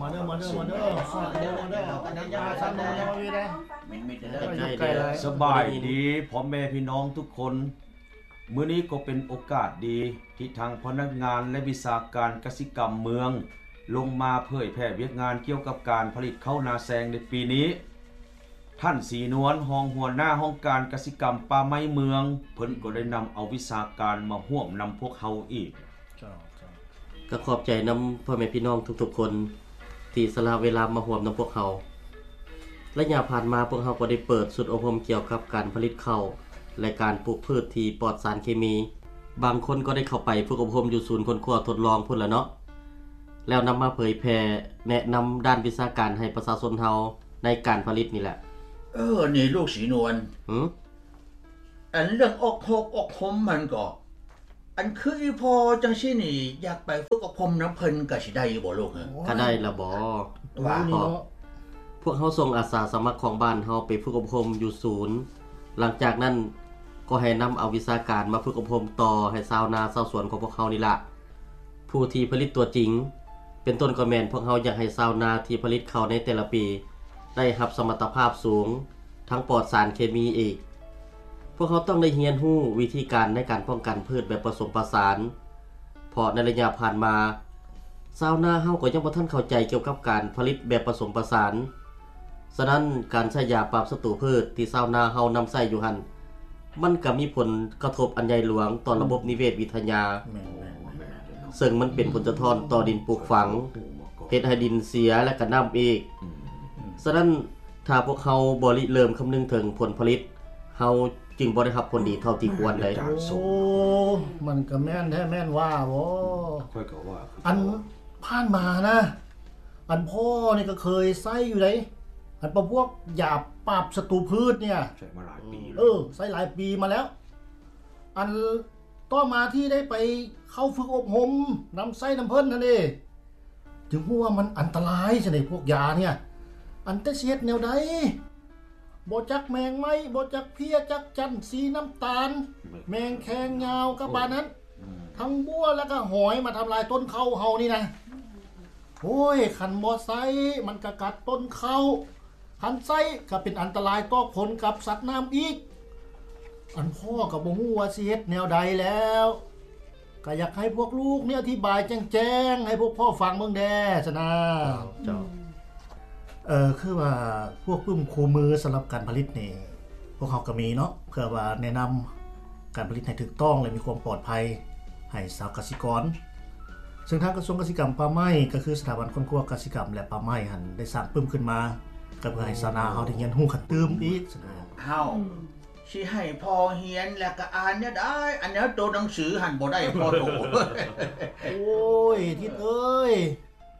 ມາເດີ ມາເດີ ມາເດີ ມາເດີ ມາເດີ ສະບາຍດີພໍ່ແມ່ພີ່ນ້ອງທຸກຄົນ. ມື້ນີ້ກໍເປັນໂອກາດດີທີ່ທາງພະນັກງານ ແລະ ວິຊາການກະສິກຳເມືອງ ລົງມາເຜີຍແຜ່ວຽກງານກ່ຽວກັບການຜະລິດເຂົ້ານາແຊງໃນປີນີ້. ທ່ານ ສີນວນ ຮອງຫົວໜ້າຫ້ອງການກະສິກຳປ່າໄມ້ເມືອງ ເພິ່ນກໍໄດ້ນຳເອົາວິຊາການມາຮ່ວມນຳພວກເຮົາອີກ. ເຈົ້າ ເຈົ້າ ກໍຂອບໃຈນຳພໍ່ແມ່ພີ່ນ້ອງທຸກໆຄົນທີ່ສະຫຼະເວລາມາຮ່ວມນຳພວກເຮົາ. ໄລຍະຜ່ານມາພວກເຮົາກໍໄດ້ເປີດຊຸດອົບຮົມກ່ຽວກັບການຜະລິດເຂົ້າ ແລະ ການປູກພືດທີ່ປອດສານເຄມີ. ບາງຄົນກໍໄດ້ເຂົ້າໄປຝຶກອົບຮົມຢູ່ສູນຄົ້ນຄວ້າທົດລອງພຸ້ນລະເນາະ ແລ້ວນຳມາເຜີຍແຜ່ແນະນຳດ້ານວິຊາການໃຫ້ປະຊາຊົນເຮົາໃນການຜະລິດນີ້ແຫຼະ. ເອີ ນີ້ລູກສີນວນ ຫື? ອັນເລື່ອງອົບຮົມ ອົບຮົມຫັ້ນກໍ ອັນຄືອີ່ພໍ່ຈັ່ງຊີ້ນີ້ ຢາກໄປຝຶກອົບຮົມນຳເພິ່ນກະຊິໄດ້ຢູ່ບໍ່ລູກ? ກະໄດ້ລະບໍ? ວ່າ ພວກເຮົາສົ່ງອາສາສະໝັກຂອງບ້ານເຮົາໄປຝຶກອົບຮົມຢູ່ສູນ, ຫຼັງຈາກນັ້ນກໍໃຫ້ນຳເອົາວິຊາການມາຝຶກອົບຮົມຕໍ່ໃຫ້ຊາວນາຊາວສວນຂອງພວກເຮົານີ້ລະ ຜູ້ທີ່ຜະລິດຕົວຈິງ. ເປັນຕົ້ນກໍແມ່ນພວກເຮົາຢາກໃຫ້ຊາວນາທີ່ຜະລິດເຂົ້າໃນແຕ່ລະປີໄດ້ຮັບສະມັດຕະພາບສູງ ທັງປອດສານເຄມີອີກ. ພວກເຮົາຕ້ອງໄດ້ຮຽນຮູ້ວິທີການໃນການປ້ອງກັນພືດແບບປະສົມປະສານ ເພາະໃນໄລຍະຜ່ານມາ ຊາວນາເຮົາກໍຍັງບໍ່ທັນເຂົ້າໃຈກ່ຽວກັບການຜະລິດແບບປະສົມປະສານ. ສະນັ້ນ ການໃຊ້ຢາປາບສັດຕູພືດທີ່ຊາວນາເຮົານຳໃຊ້ຢູ່ຫັ້ນ ມັນກະມີຜົນກະທົບອັນໃຫຍ່ຫຼວງຕໍ່ລະບົບນິເວດວິທະຍາ ເຊິ່ງມັນເປັນຜົນສະທ້ອນຕໍ່ດິນປູກຝັງ, ເຮັດໃຫ້ດິນເສຍ ແລະ ກະນ້ຳອີກ. ສະນັ້ນ ຖ້າພວກເຮົາບໍ່ລິເລີ່ມຄຳນຶງເຖິງຜົນຜະລິດ, ເຮົາຈຶ່ງບໍ່ໄດ້ຮັບຜົນດີເທົ່າທີ່ຄວນໄດ໋. ໂອ້ ມັນກະແມ່ນແທ້ແມ່ນວ່າບໍ? ຂ້ອຍກະວ່າຄື ອັນຜ່ານມານະ ອັນພໍ່ນີ້ກະເຄີຍໃຊ້ຢູ່ໃດ໋ ອັນປະພວກຢາປາບສັດຕູພືດນີ້ ໃຊ້ມາຫຼາຍປີແລ້ວ. ເອີ ໃຊ້ຫຼາຍປີມາແລ້ວ. ອັນຕໍ່ມາທີ່ໄດ້ໄປເຂົ້າຝຶກອົບຮົມນຳໃຊ້ນຳເພິ່ນຫັ້ນເດ ຈຶ່ງຮູ້ວ່າມັນອັນຕະລາຍຊັ້ນເດ ພວກຢານີ້. ອັນແຕ່ຊິເຮັດແນວໃດ ບໍ່ຈັກແມງໄມ້ ບໍ່ຈັກເພັ້ຍ ຈັກຈັນສີນ້ຳຕານ ແມ່ນ ແມງແຄງຍາວກະປານນັ້ນ ທັງບົວ ແລະກະຫອຍມາທຳລາຍຕົ້ນເຂົ້າເຮົານີ້ນະ. ໂອ້ຍ ຄັນບໍ່ໃຊ້ມັນກະກັດຕົ້ນເຂົ້າ, ຄັນໃຊ້ກະເປັນອັນຕະລາຍຕໍ່ຄົນກັບສັດນ້ຳອີກ. ອັນພໍ່ກະບໍ່ຮູ້ວ່າຊິເຮັດແນວໃດແລ້ວ. ກະຢາກໃຫ້ພວກລູກນີ້ອະທິບາຍແຈ້ງໆໃຫ້ພວກພໍ່ຟັງເບິ່ງແດ່ຊັ້ນນາ. ເຈົ້າ ເອີ ຄືວ່າພວກປຶ້ມຄູ່ມືສຳລັບການຜະລິດນີ້ ພວກເຮົາກະມີເນາະ ເພື່ອວ່າແນະນຳການຜະລິດໃຫ້ຖືກຕ້ອງ ແລະ ມີຄວາມປອດໄພໃຫ້ຊາວກະສິກອນ. ເຊິ່ງທາງກະຊວງກະສິກຳປ່າໄມ້ ກະຄືສະຖາບັນຄົ້ນຄວ້າກະສິກຳ ແລະ ປ່າໄມ້ຫັ້ນ ໄດ້ສ້າງປຶ້ມຂຶ້ນມາ ກະເພື່ອໃຫ້ຊາວນາເຮົາໄດ້ຮຽນຮູ້ຂັ້ນຕື່ມອີກຊັ້ນນາ. ເຮົາ ຊິໃຫ້ພໍ່ຮຽນແລ້ວກະອ່ານແນວໃດ? ອັນແນວໂຕໜັງສືຫັ້ນບໍ່ໄດ້ພໍ່ໂຕ. ໂອ້ຍ ທິດເອີຍ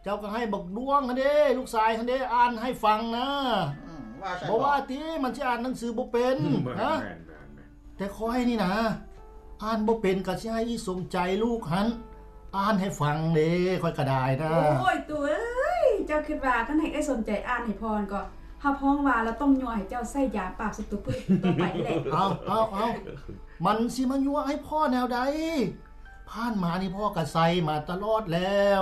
ເຈົ້າກະໃຫ້ບັກດວງຫັ້ນເດ້ ລູກຊາຍຫັ້ນເດ້ ອ່ານໃຫ້ຟັງນະ. ອືມ ວ່າຊັ້ນ ບໍ່ວ່າຕິ ມັນຊິອ່ານໜັງສືບໍ່ເປັນ ອືມ ນະ. ແມ່ນໆໆ ແຕ່ຂ້ອຍນີ້ນະ ອ່ານບໍ່ເປັນ ກະຊິໃຫ້ອີສົມໃຈລູກຫັ້ນ ອ່ານໃຫ້ຟັງເດ້ ຂ້ອຍກະໄດ້ນະ. ໂອ້ຍ ຕູ້ເອີຍ ເຈົ້າຄິດວ່າຄັນໃຫ້ເອື້ອຍສົມໃຈອ່ານໃຫ້ພໍ່ຫັ້ນກໍ ຮັບຮອງວ່າລາວຕ້ອງຍົວະໃຫ້ເຈົ້າໃຊ້ຢາປາບສັດຕູພືດຕໍ່ໄປແຫຼະ. ເອົາ ເອົາ ເອົາ ມັນຊິມາຍົວະໃຫ້ພໍ່ແນວໃດ? ຜ່ານມານີ້ພໍ່ກະໃຊ້ມາຕະຫຼອດແລ້ວ.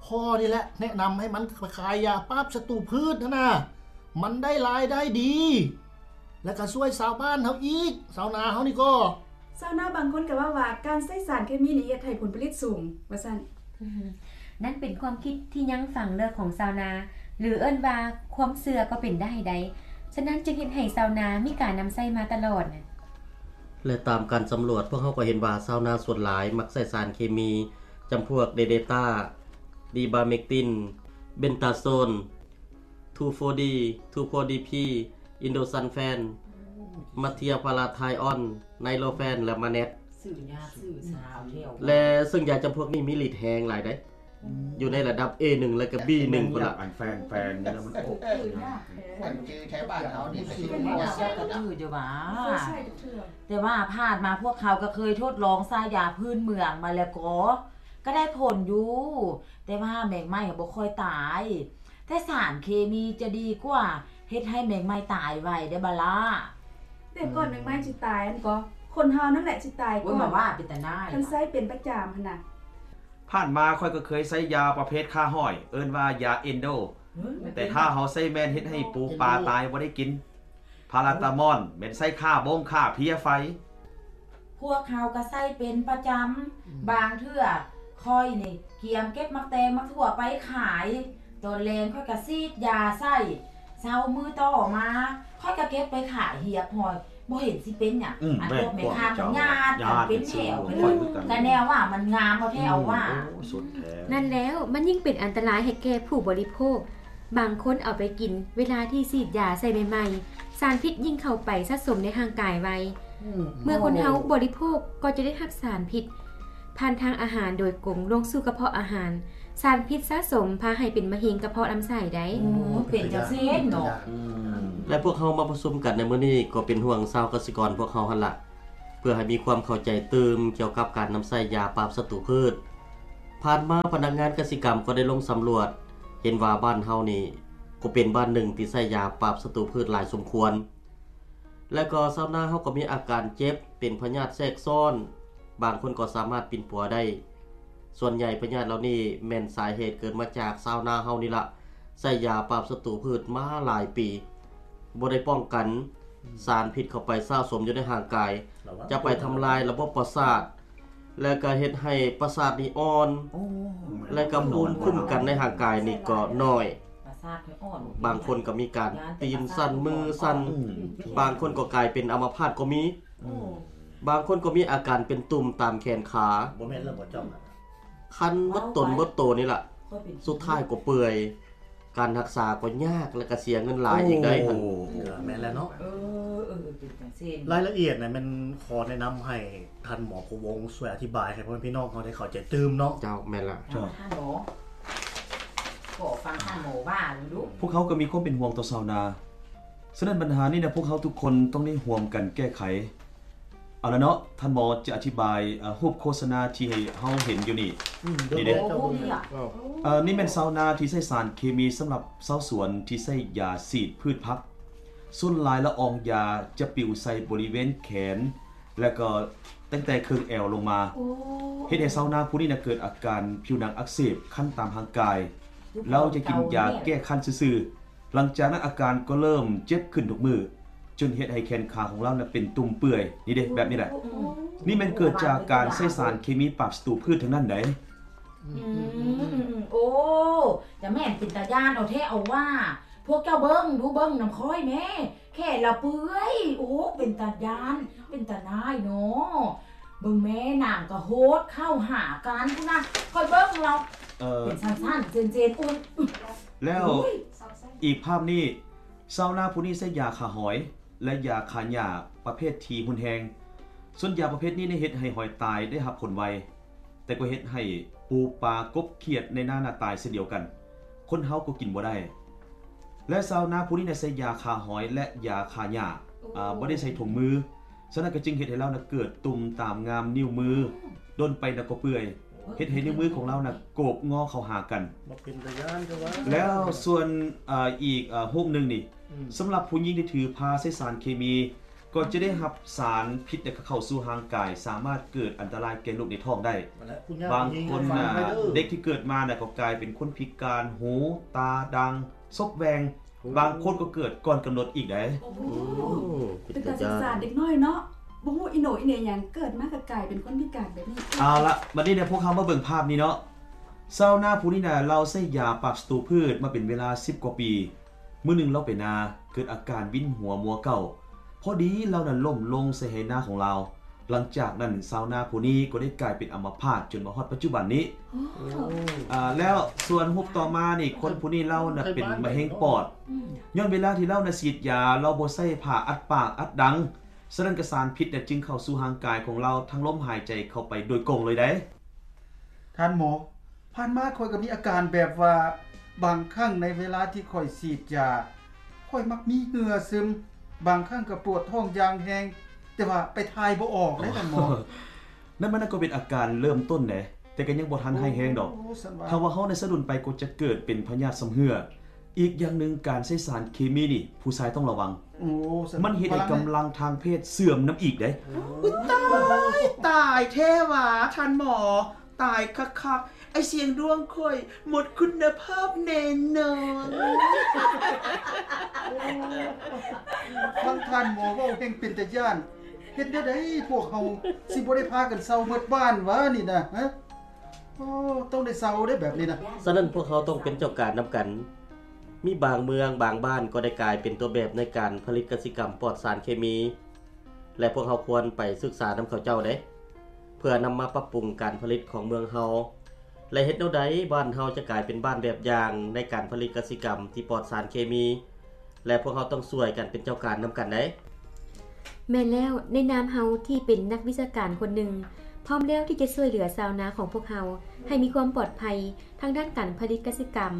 ພໍ່ນີ້ແຫຼະແນະນຳໃຫ້ມັນໄປຂາຍຢາປາບສັດຕູພືດຫັ້ນນະ. ມັນໄດ້ລາຍໄດ້ດີ ແລະກະຊ່ວຍຊາວບ້ານເຮົາອີກ ຊາວນາເຮົານີ້ກໍ. ຊາວນາບາງຄົນກະເວົ້າວ່າ ການໃຊ້ສານເຄມີນີ້ເຮັດໃຫ້ຜົນຜະລິດສູງ ວ່າຊັ້ນ. ນັ້ນເປັນຄວາມຄິດທີ່ຍັງຝັງເລິກຂອງຊາວນາ ຫຼື ເອີ້ນວ່າຄວາມເຊື່ອກໍເປັນໄດ້ໄດ໋. ສະນັ້ນຈຶ່ງເຮັດໃຫ້ຊາວນາມີການນຳໃຊ້ມາຕະຫຼອດ. ແລະ ຕາມການສຳຫຼວດ ພວກເຮົາກໍເຫັນວ່າຊາວນາສ່ວນຫຼາຍມັກໃຊ້ສານເຄມີ ຈຳພວກເດເດຕ້າ, ດີບາເມັກຕິນ, ເບັນຕາໂຊນ, ທູໂຟດີ, ທູໂຟດີພີ, ອິນໂດຊັນແຟນ, ມາເທຍພາລາໄທອອນ, ໄນໂລແຟນ ແລະ ມາແນັດ. ຊື້ຢາຊື້ສາວແຖວ ແລະ ເຊິ່ງຢາຈຳພວກນີ້ມີລິດແຮງຫຼາຍໃດ໋ ຢູ່ໃນລະດັບເອໜຶ່ງ ແລະກະບີໜຶ່ງພຸ້ນລະ. ອັນແຟນໆນີ້ລະມັນອອກ ອັນຈື່ແຖວບ້ານເຮົານີ້ກະຊິມີຢາກະຈື່ຢູ່ຫວາ ແຕ່ວ່າຜ່ານມາພວກເຮົາກະເຄີຍທົດລອງໃຊ້ຢາພື້ນເມືອງມາແລ້ວກໍ ກະໄດ້ຜົນຢູ່ ແຕ່ວ່າແມງໄມ້ບໍ່ຄ່ອຍຕາຍ ແຕ່ສານເຄມີຈະດີກວ່າ ເຮັດໃຫ້ແມງໄມ້ຕາຍໄວເດ້ບາລາ. ແຕ່ກ່ອນແມງໄມ້ຊິຕາຍຫັ້ນກໍ ຄົນເຮົານັ້ນແຫຼະຊິຕາຍກ່ອນ. ໂອ້ຍ ມາວ່າເປັນຕາໜ້າຍ ຄັນໃຊ້ເປັນປະຈຳຫັ້ນນະ. ຜ່ານມາຂ້ອຍກໍເຄີຍໃຊ້ຢາປະເພດຂ້າຫອຍ ເອີ້ນວ່າຢາເອັນໂດ ແຕ່ຖ້າເຮົາໃຊ້ແມ່ນເຮັດໃຫ້ປູປາຕາຍບໍ່ໄດ້ກິນ. ພາຣາຕາມອນແມ່ນໃຊ້ຂ້າບົ້ງຂ້າເພຍໄຟ. ພວກເຮົາກໍໃຊ້ເປັນປະຈຳ. ບາງເທື່ອຂ້ອຍນີ້ກຽມເກັບໝາກແຕງໝາກຖົ່ວໄປຂາຍ, ຕອນແລງຂ້ອຍກໍສີດຢາໃສ່. ເຊົ້າມື້ຕໍ່ມາຂ້ອຍກໍເກັບໄປຂາຍຮຽບຮ້ອຍ, ບໍ່ເຫັນຊິເປັນຫຍັງ. ອັນພວກແມ່ຄ້າກໍຍາດກັນເປັນແຖວ. ກໍແນວວ່າມັນງາມເອົາແທ້ເອົາວ່າ. ນັ້ນແລ້ວ ມັນຍິ່ງເປັນອັນຕະລາຍໃຫ້ແກ່ຜູ້ບໍລິໂພກ. ບາງຄົນເອົາໄປກິນເວລາທີ່ສີດຢາໃສ່ໃໝ່ໆ, ສານພິດຍິ່ງເຂົ້າໄປສະສົມໃນຮ່າງກາຍໄວ. ເມື່ອຄົນເຮົາບໍລິໂພກກໍຈະໄດ້ຮັບສານພິດຜ່ານທາງອາຫານໂດຍກົງລົງສູ່ກະເພາະອາຫານ. ສານພິດສະສົມພາໃຫ້ເປັນມະເຮັງກະເພາະລຳໄສ້ໄດ້. ເປັນຈັ່ງຊີ້ເນາະ. ແລະ ພວກເຮົາມາປະຊຸມກັນໃນມື້ນີ້ກໍເປັນຫ່ວງຊາວກະສິກອນພວກເຮົາຫັ້ນລະ ເພື່ອໃຫ້ມີຄວາມເຂົ້າໃຈຕື່ມກ່ຽວກັບການນຳໃຊ້ຢາປາບສັດຕູພືດ. ຜ່ານມາພະນັກງານກະສິກຳກໍໄດ້ລົງສຳຫຼວດ ເຫັນວ່າບ້ານເຮົານີ້ກໍເປັນບ້ານໜຶ່ງທີ່ໃຊ້ຢາປາບສັດຕູພືດຫຼາຍສົມຄວນ ແລະ ກໍຊາວນາເຮົາກໍມີອາການເຈັບ ເປັນພະຍາດແຊກຊ້ອນ, ບາງຄົນກໍສາມາດປິ່ນປົວໄດ້. ສ່ວນໃຫຍ່ພະຍາດເຫຼົ່ານີ້ແມ່ນສາເຫດເກີດມາຈາກຊາວນາເຮົານີ້ລະ ໃຊ້ຢາປາບສັດຕູພືດມາຫຼາຍປີ ບໍ່ໄດ້ປ້ອງກັນ. ສານພິດເຂົ້າໄປສະສົມຢູ່ໃນຮ່າງກາຍ ຈະໄປທຳລາຍລະບົບປະສາດ ແລະ ກໍເຮັດໃຫ້ປະສາດນີ້ອ່ອນ ແລະ ກໍພູມຄຸ້ມກັນໃນຮ່າງກາຍນີ້ກໍໜ້ອຍ. ບາງຄົນກໍມີການຕີນສັ່ນ ມືສັ່ນ, ບາງຄົນກໍກາຍເປັນອາມະພາດກໍມີ. ບາງຄົນກໍມີອາການເປັນຕຸ່ມຕາມແຂນຂາ ຄັນໝົດຕົນໝົດໂຕນີ້ລະ ສຸດທ້າຍກໍເປື່ອຍ. ການຮັກສາກໍຍາກ ແລະ ກໍເສຍເງິນຫຼາຍອີກໄດ໋. ໂອ້ ແມ່ນແລ້ວເນາະ. ເອີ ເອີ ເປັນຈັ່ງຊີ້. ລາຍລະອຽດນະ ແມ່ນຂໍແນະນຳໃຫ້ທ່ານໝໍພູວົງຊ່ວຍອະທິບາຍໃຫ້ພໍ່ແມ່ພີ່ນ້ອງເຮົາໄດ້ເຂົ້າໃຈຕື່ມເນາະ. ເຈົ້າ ແມ່ນລະ. ທ່ານໝໍ ຂໍຟັງທ່ານໝໍວ່າດູ. ພວກເຮົາກໍມີຄວາມເປັນຫ່ວງຕໍ່ຊາວນາ, ສະນັ້ນບັນຫານີ້ນະ ພວກເຮົາທຸກຄົນຕ້ອງໄດ້ຮ່ວມກັນແກ້ໄຂ. ເອົາລະເນາະ, ທ່ານໝໍຈະອະທິບາຍ ເອີ ຮູບໂຄສະນາທີ່ໃຫ້ເຮົາເຫັນຢູ່ນີ້. ນີ້ເດ້. ເອີ ນີ້ແມ່ນຊາວນາທີ່ໃຊ້ສານເຄມີສຳລັບຊາວສວນທີ່ໃຊ້ຢາສີດພືດຜັກ. ສ່ວນຫຼາຍລະອອງຢາຈະປິວໃສ່ບໍລິເວນແຂນ ແລະ ກໍຕັ້ງແຕ່ເຄິ່ງແອວລົງມາ. ເຮັດໃຫ້ຊາວນາຜູ້ນີ້ນະເກີດອາການຜິວໜັງອັກເສບ ຄັນຕາມຮ່າງກາຍ. ລາວຈະກິນຢາແກ້ຄັນຊື່ໆ. ຫຼັງຈາກນັ້ນອາການກໍເລີ່ມເຈັບຂຶ້ນທຸກມື້ ຈົນເຮັດໃຫ້ແຂນຂາຂອງລາວນະເປັນຕຸ່ມເປື່ອຍ. ນີ້ເດ້ ແບບນີ້ແຫຼະ. ນີ້ແມ່ນເກີດຈາກການໃຊ້ສານເຄມີປາບສັດຕູພືດທັງນັ້ນໃດ໋. ອືມ ໂອ້ ຈະແມ່ນເປັນຕາຢ້ານເອົາແທ້ເອົາວ່າ. ພວກເຈົ້າເບິ່ງດູ ເບິ່ງນຳຂ້ອຍແມ້ ແຂນລາວເປື່ອຍ. ໂອ້ ເປັນຕາຢ້ານ ເປັນຕານາຍເນາະ. ເບິ່ງແມ້ ນາງກໍໂຫດເຂົ້າຫາກັນພຸ້ນນະ. ຂ້ອຍເບິ່ງລາວ ເອີ ເປັນສັ້ນໆ ເຈນໆ. ໂອ້ຍ ແລ້ວອີກພາບນີ້ ຊາວນາຜູ້ນີ້ໃຊ້ຢາຂ້າຫອຍ ແລະ ຢາຂ້າຫຍ້າປະເພດທີ່ຮຸນແຮງ. ສ່ວນຢາປະເພດນີ້ໄດ້ເຮັດໃຫ້ຫອຍຕາຍໄດ້ຮັບຜົນໄວ, ແຕ່ກໍເຮັດໃຫ້ປູປາກົບຂຽດໃນນານະຕາຍເຊັ່ນດຽວກັນ. ຄົນເຮົາກໍກິນບໍ່ໄດ້. ແລະ ຊາວນາຜູ້ນີ້ນະໃຊ້ຢາຂ້າຫອຍ ແລະ ຢາຂ້າຫຍ້າ ອາ ບໍ່ໄດ້ໃສ່ຖົງມື. ສະນັ້ນກໍຈຶ່ງເຮັດໃຫ້ລາວນະເກີດຕຸ່ມຕາມງາມນິ້ວມື, ດົນໄປນະກໍເປື່ອຍ, ເຮັດໃຫ້ນິ້ວມືຂອງລາວນະໂກບງໍເຂົ້າຫາກັນ. ບໍ່ເປັນຕາຢ້ານເດີວ່າ. ແລ້ວສ່ວນ ເອີ ອີກ ເອີ ຮູບໜຶ່ງນີ້ ອືມ ສຳລັບຜູ້ຍິງທີ່ຖືພາໃຊ້ສານເຄມີ ກໍຈະໄດ້ຮັບສານພິດ ແລະ ເຂົ້າສູ່ຮ່າງກາຍ, ສາມາດເກີດອັນຕະລາຍແກ່ລູກໃນທ້ອງໄດ້. ບາງຄົນນະ ເດັກທີ່ເກີດມານະ ກໍກາຍເປັນຄົນພິການ, ຫູ, ຕາ, ດັງ, ສົບແຫວ່ງ. ບາງຄົນກໍເກີດກ່ອນກຳນົດອີກໃດ໋. ໂອ້ ເປັນຕາສົງສານເດັກນ້ອຍເນາະ, ບໍ່ຮູ້ອີໂໜອີເໜຫຍັງ ເກີດມາກໍກາຍເປັນຄົນພິການແບບນີ້. ເອົາລະ ບັດນີ້ເນຍ ພວກເຮົາມາເບິ່ງພາບນີ້ເນາະ. ຊາວນາຜູ້ນີ້ນະ ລາວໃຊ້ຢາປາບສັດຕູພືດມາເປັນເວລາສິບກວ່າປີ. ມື້ໜຶ່ງລາວໄປນາ ເກີດອາການວິນຫົວມົວເກົ້າ. ພໍດີລາວນະລົ້ມລົງໃສ່ໄຮ່ນາຂອງລາວ. ຫຼັງຈາກນັ້ນ ຊາວນາຜູ້ນີ້ກໍໄດ້ກາຍເປັນອຳມະພາດຈົນມາຮອດປັດຈຸບັນນີ້. ໂອ້ ອາ ແລ້ວສ່ວນຮູບຕໍ່ມານີ້ ຄົນຜູ້ນີ້ລາວນະເປັນມະເຮັງປອດ. ອືມ ຍ້ອນເວລາທີ່ລາວນະສີດຢາ ລາວບໍ່ໃສ່ຜ້າອັດປາກອັດດັງ, ສະນັ້ນກະສານພິດນະຈຶ່ງເຂົ້າສູ່ຮ່າງກາຍຂອງລາວທາງລົມຫາຍໃຈເຂົ້າໄປໂດຍກົງເລີຍໃດ໋. ທ່ານໝໍ, ຜ່ານມາຂ້ອຍກໍມີອາການແບບວ່າ ບາງຄັ້ງໃນເວລາທີ່ຂ້ອຍສີດຢາ ຂ້ອຍມັກມີເຫື່ອຊຶມ, ບາງຄັ້ງກໍປວດທ້ອງຢ່າງແຮງ, ແຕ່ວ່າໄປຖ່າຍບໍ່ອອກເດ້ທ່ານໝໍ. ນັ້ນມັນກໍເປັນອາການເລີ່ມຕົ້ນເດ້, ແຕ່ກໍຍັງບໍ່ທັນຮ້າຍແຮງດອກ. ໂອ້ ຊັ້ນວ່າ ຖ້າວ່າເຮົາໄດ້ສະດຸນໄປກໍຈະເກີດເປັນພະຍາດຊຳເຮື້ອ. ອີກຢ່າງໜຶ່ງ ການໃຊ້ສານເຄມີນີ້ ຜູ້ຊາຍຕ້ອງລະວັງ. ໂອ້ ມັນເຮັດໃຫ້ກຳລັງທາງເພດເສື່ອມນຳອີກເດ້. ໂອ້ຍ ຕາຍ ຕາຍແທ້ຫວາທ່ານໝໍ, ຕາຍຄັກໆ. ໄອ້ສຽງດວງຂ້ອຍໝົດຄຸນນະພາບແນ່ນອນ. ຟັງທ່ານໝໍເວົ້າແຮ່ງເປັນຕາຢ້ານ. ເຮັດແນວໃດພວກເຮົາຊິບໍ່ໄດ້ພາກັນເຊົ່າໝົດບ້ານຫວານີ້ນະ? ຮະ ໂອ້ ຕ້ອງໄດ້ເຊົ່າເດ້ແບບນີ້ນະ. ສະນັ້ນພວກເຮົາຕ້ອງເປັນເຈົ້າການນຳກັນ. ມີບາງເມືອງ, ບາງບ້ານກໍໄດ້ກາຍເປັນຕົວແບບໃນການຜະລິດກະສິກຳປອດສານເຄມີ ແລະ ພວກເຮົາຄວນໄປສຶກສານຳເຂົາເຈົ້າເດ້ ເພື່ອນຳມາປັບປຸງການຜະລິດຂອງເມືອງເຮົາ ແລະ ເຮັດແນວໃດບ້ານເຮົາຈະກາຍເປັນບ້ານແບບຢ່າງໃນການຜະລິດກະສິກຳທີ່ປອດສານເຄມີ ແລະ ພວກເຮົາຕ້ອງຊ່ວຍກັນເປັນເຈົ້າການນຳກັນເດ້. ແມ່ນແລ້ວ, ໃນນາມເຮົາທີ່ເປັນນັກວິຊາການຄົນໜຶ່ງ, ພ້ອມແລ້ວທີ່ຈະຊ່ວຍເຫຼືອຊາວນາຂອງພວກເຮົາໃຫ້ມີຄວາມປອດໄພທາງດ້ານການຜະລິດກະສິກຳ,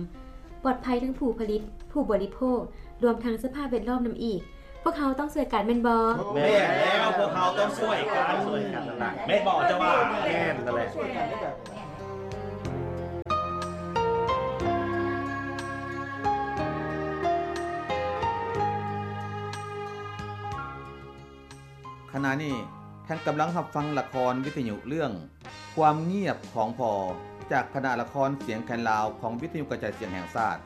ປອດໄພທັງຜູ້ຜະລິດ, ຜູ້ບໍລິໂພກ, ລວມທັງສະພາບແວດລ້ອມນຳອີກ. ພວກເຮົາຕ້ອງຊ່ວຍກັນແມ່ນບໍ່? ແມ່ນແລ້ວ, ພວກເຮົາຕ້ອງຊ່ວຍກັນ. ແມ່ນບໍ່ເຈົ້າວ່າ? ແມ່ນນັ້ນແຫຼະ. ຂະນະນີ້ທ່ານກຳລັງຮັບຟັງລະຄອນວິທະຍຸເລື່ອງ ຄວາມງຽບຂອງພໍ່ ຈາກຄະນະລະຄອນສຽງແຄນລາວຂອງວິທະຍຸກະຈາຍສຽງແຫ່ງຊາດ.